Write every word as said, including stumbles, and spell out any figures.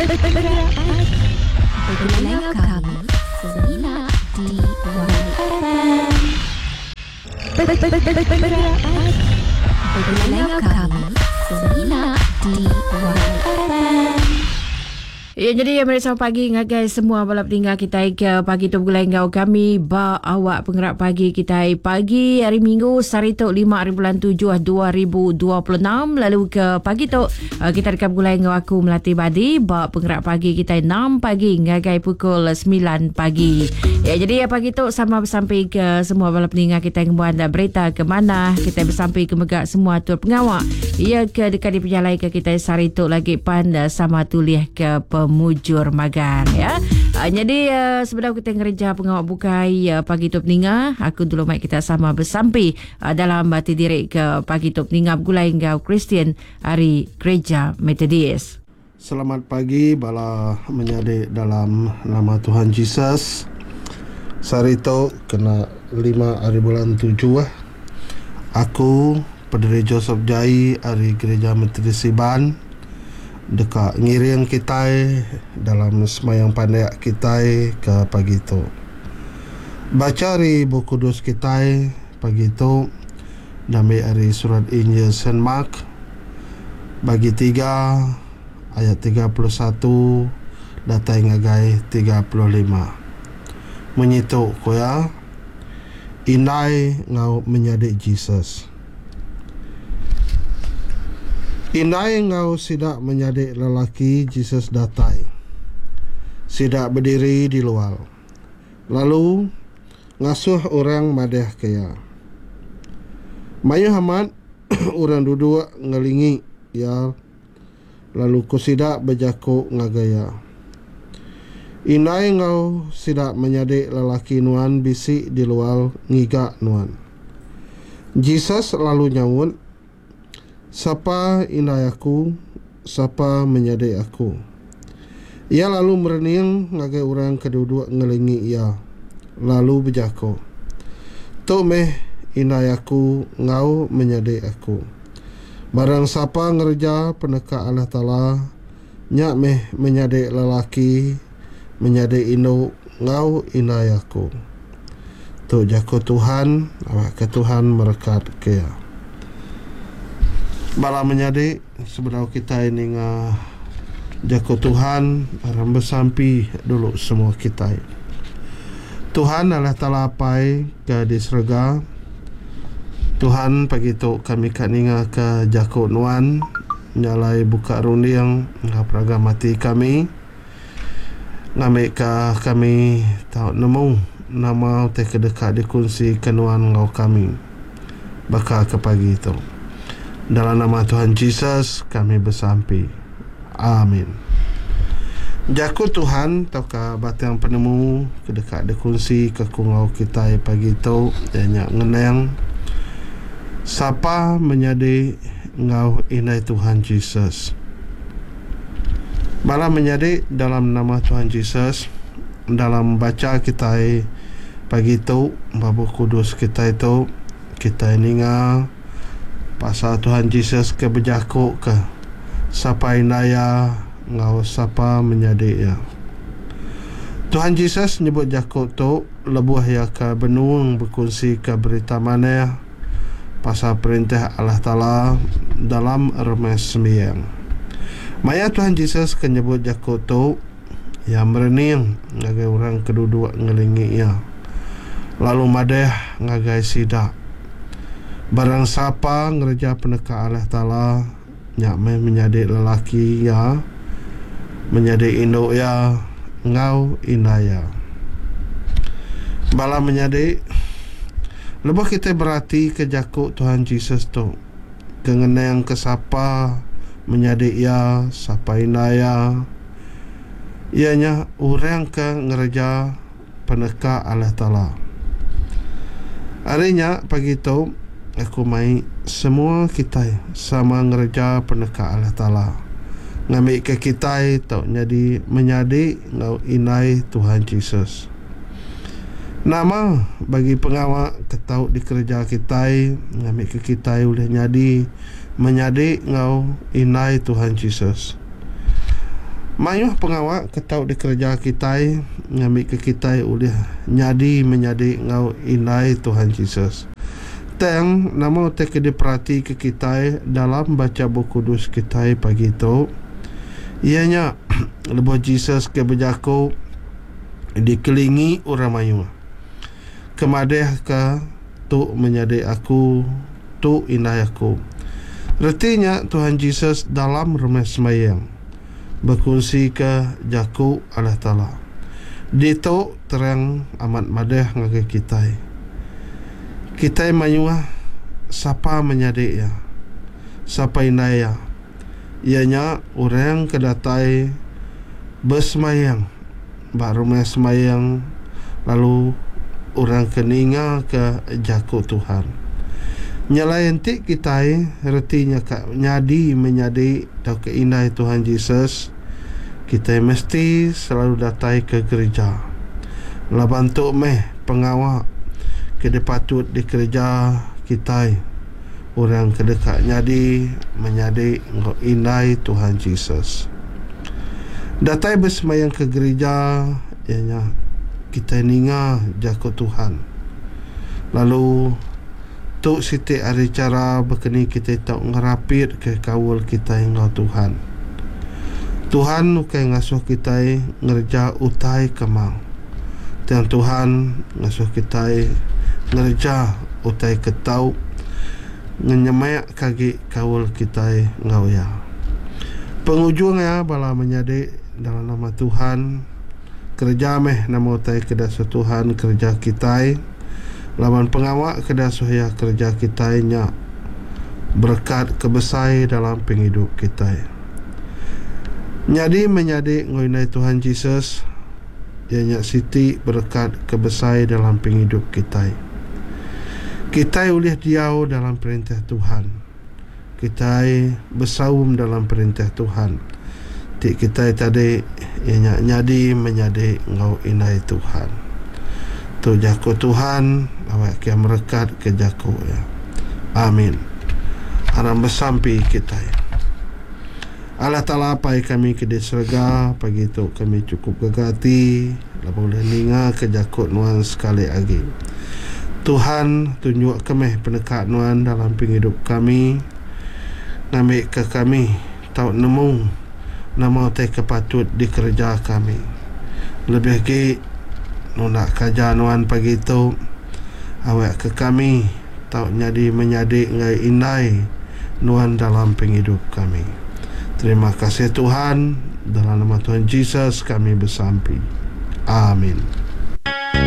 Begulai kami semina di Y F M. Begulai kami semina di Y F M. Ya, jadi ya, meri selamat pagi ngagai semua bala peninggal kita ke pagi tu begulai enggau kami ba awak penggerak pagi kita pagi hari Minggu sehari tu lima hari bulan tujuh dua ribu dua puluh enam. Lalu ke pagi tu kita dekat begulai enggau aku Melati Badi ba penggerak pagi kita enam pagi ngagai pukul sembilan pagi. Ya, jadi ya, pagi tu sama bersampai ke semua bala peninggal kita ngembuan berita ke mana kita bersampai ke megak semua tur pengawak ia ke dekat diperjalai ke kita sehari tu lagi pan sama tulih ke pemujur magang ya. Uh, jadi uh, sebelum kita ngereja pengawak bukai uh, pagi tu peninga, aku dulu mai kita sama bersampi uh, dalam hati diri ke pagi tu peninga begulai enggau Kristian hari Gereja Methodist. Selamat pagi bala menyadi dalam nama Tuhan Jesus. Sehari tu kena lima hari bulan tujuh. Aku Padre Joseph Jai hari Gereja Methodist Iban dekat ngiring kita dalam semayang pandai kita ke pagi tu. Baca hari buku kudus kita pagi tu dari hari surat Injil Saint Mark bagi tiga ayat tiga puluh satu datai ngagai tiga puluh lima. Menyitu koya indai ngau menyadi Jesus. Indai ngau sidak menyadi lelaki Jesus datai. Sidak berdiri di luar. Lalu ngasuh orang madeh ke ya. Mayu amat orang duduk ngelingi ya. Lalu ku sidak berjakuk ngagai ya. Indai ngau sidak menyadi lelaki nuan bisi di luar ngiga nuan. Jesus lalu nyaut, "Sapa indai aku, sapa menyadi aku?" Ia lalu merening ngagai orang ke duduk ngelingi ia, lalu berjako, "Tu meh indai aku ngau menyadi aku. Barang sapa ngereja peneka Allah Taala, nya meh menyadi lelaki, menyadi induk ngau indai aku." Tu jako Tuhan, awak ke Tuhan merekat ke ia. Bala menyadi sebelum kita ini nga jako Tuhan, aram bersampi dulu semua kita. Tuhan Allah Taala Apai ke di serega, Tuhan pagi tu kami kat ninga ke jako nuan, nyalai buka runding ngah peraga mati kami. Ngambil ke kami tau nemu nama te kedekat dikongsi ke nuan ngau kami bakal ke pagi tu. Dalam nama Tuhan Jesus kami bersampi. Amin. Jaku Tuhan tauka batang penemu kedekat dikongsi ke kungau kita pagi tu ianya ngenang sapa menyadi ngau indai Tuhan Jesus. Bala menyadi dalam nama Tuhan Jesus, dalam baca kita pagi tu bab kudus kita itu kita ninga pasal Tuhan Jesus ke berjakuk ke sapa indaya ngau sapa menyadi ya. Tuhan Jesus nyebut jakuk tu lebuh ya ke benung berkongsi ke berita manah pasal perintah Allah Taala dalam remes sembiang. Maya Tuhan Jesus ke nyebut jakuk tu ya merening ngagai orang keduduk ngelingi ya. Lalu madeh ngagai sidak. Barang siapa ngereja peneka Allah Taala, nya meh menyadi lelaki ya, menyadi induk ya, ngau indai ya. Bala menyadi, lebuh kita berarti ke jakuk Tuhan Jesus tu, ke ngenang ke sapa menyadi ya, sapa indai ya, ianya orang ke ngereja peneka Allah Taala. Harinya pagi tu aku mai semua kita sama ngereja peneka Allah Taala. Ngambil ke kita tau jadi menyadi ngau indai Tuhan Jesus. Nama bagi pengawak ketau dikerja kita ngambil ke kita boleh nyadi menyadi ngau indai Tuhan Jesus. Mayuh pengawa ke tau dikereja kitai ngambika kitai ulih nyadi menyadi enggau indai Tuhan Jesus. Tang nama utai ke diperatika kitai dalam bacha Bup Kudus kitai pagi tu iya nya lebuh Jesus ke bejaku dikelingi orang mayuh ke madahka tu menyadi aku, tu indai aku. Reti nya Tuhan Jesus dalam rumah sembahyang bekunsika jaku Allah Taala. Ditu terang amat madah ngagai kitai. Kitai mayuh sapa menyadi iya, sapa indai iya. Iya nya orang ke datai besembahyang ba rumah sembahyang lalu orang ke ninga ke jaku Tuhan. Nyelai enti kitai reti nya ka nyadi menyadi tauka indai Tuhan Jesus, kitai mesti selalu datai ke gereja. Laban tu meh pengawa ke dipatut dikereja kitai orang ke deka nyadi menyadi enggau indai Tuhan Jesus. Datai besembahyang ke gereja iya nya kitai ninga jaku Tuhan. Lalu tu siti ari chara bekeni kitai tau ngerapit ke kaul kitai enggau Tuhan. Tuhan ukai ngasuh kitai ngereja utai ke mau. Tang Tuhan ngasuh kitai ngereja utai ke tau ngenyemak agi kaul kitai enggau iya. Pengujung iya bala menyadi dalam nama Tuhan, kereja meh nama utai ke dasuh Tuhan kereja kitai. Laban pengawa ke dasuh iya kereja kitai nya berkat ke besai dalam penghidup kitai. Nyadi menyadi enggau indai Tuhan Jesus iya nya siti berkat ke besai dalam penghidup kitai. Kitai ulih diau dalam perintah Tuhan. Kitai besaum dalam perintah Tuhan. Ti kitai tadi iya nya nyadi menyadi enggau indai Tuhan. Tu jaku Tuhan, awak ke merekat ke jaku ya. Amin. Aram besampi kitai. Allah Ta'ala Apai kami ke di serega, pagi tu kami cukup gaga ati laban boleh ninga ke jaku nuan sekali lagi. Tuhan tunjuk kami peneka nuan dalam penghidup kami, ngambi ke kami tau nemu nama utai ke patut dikereja kami. Lebih lagi nunda kaja nuan pagi tu, awak ke kami tau nyadi menyadi enggau indai nuan dalam penghidup kami. Terima kasih Tuhan, dalam nama Tuhan Jesus kami bersampi. Amin.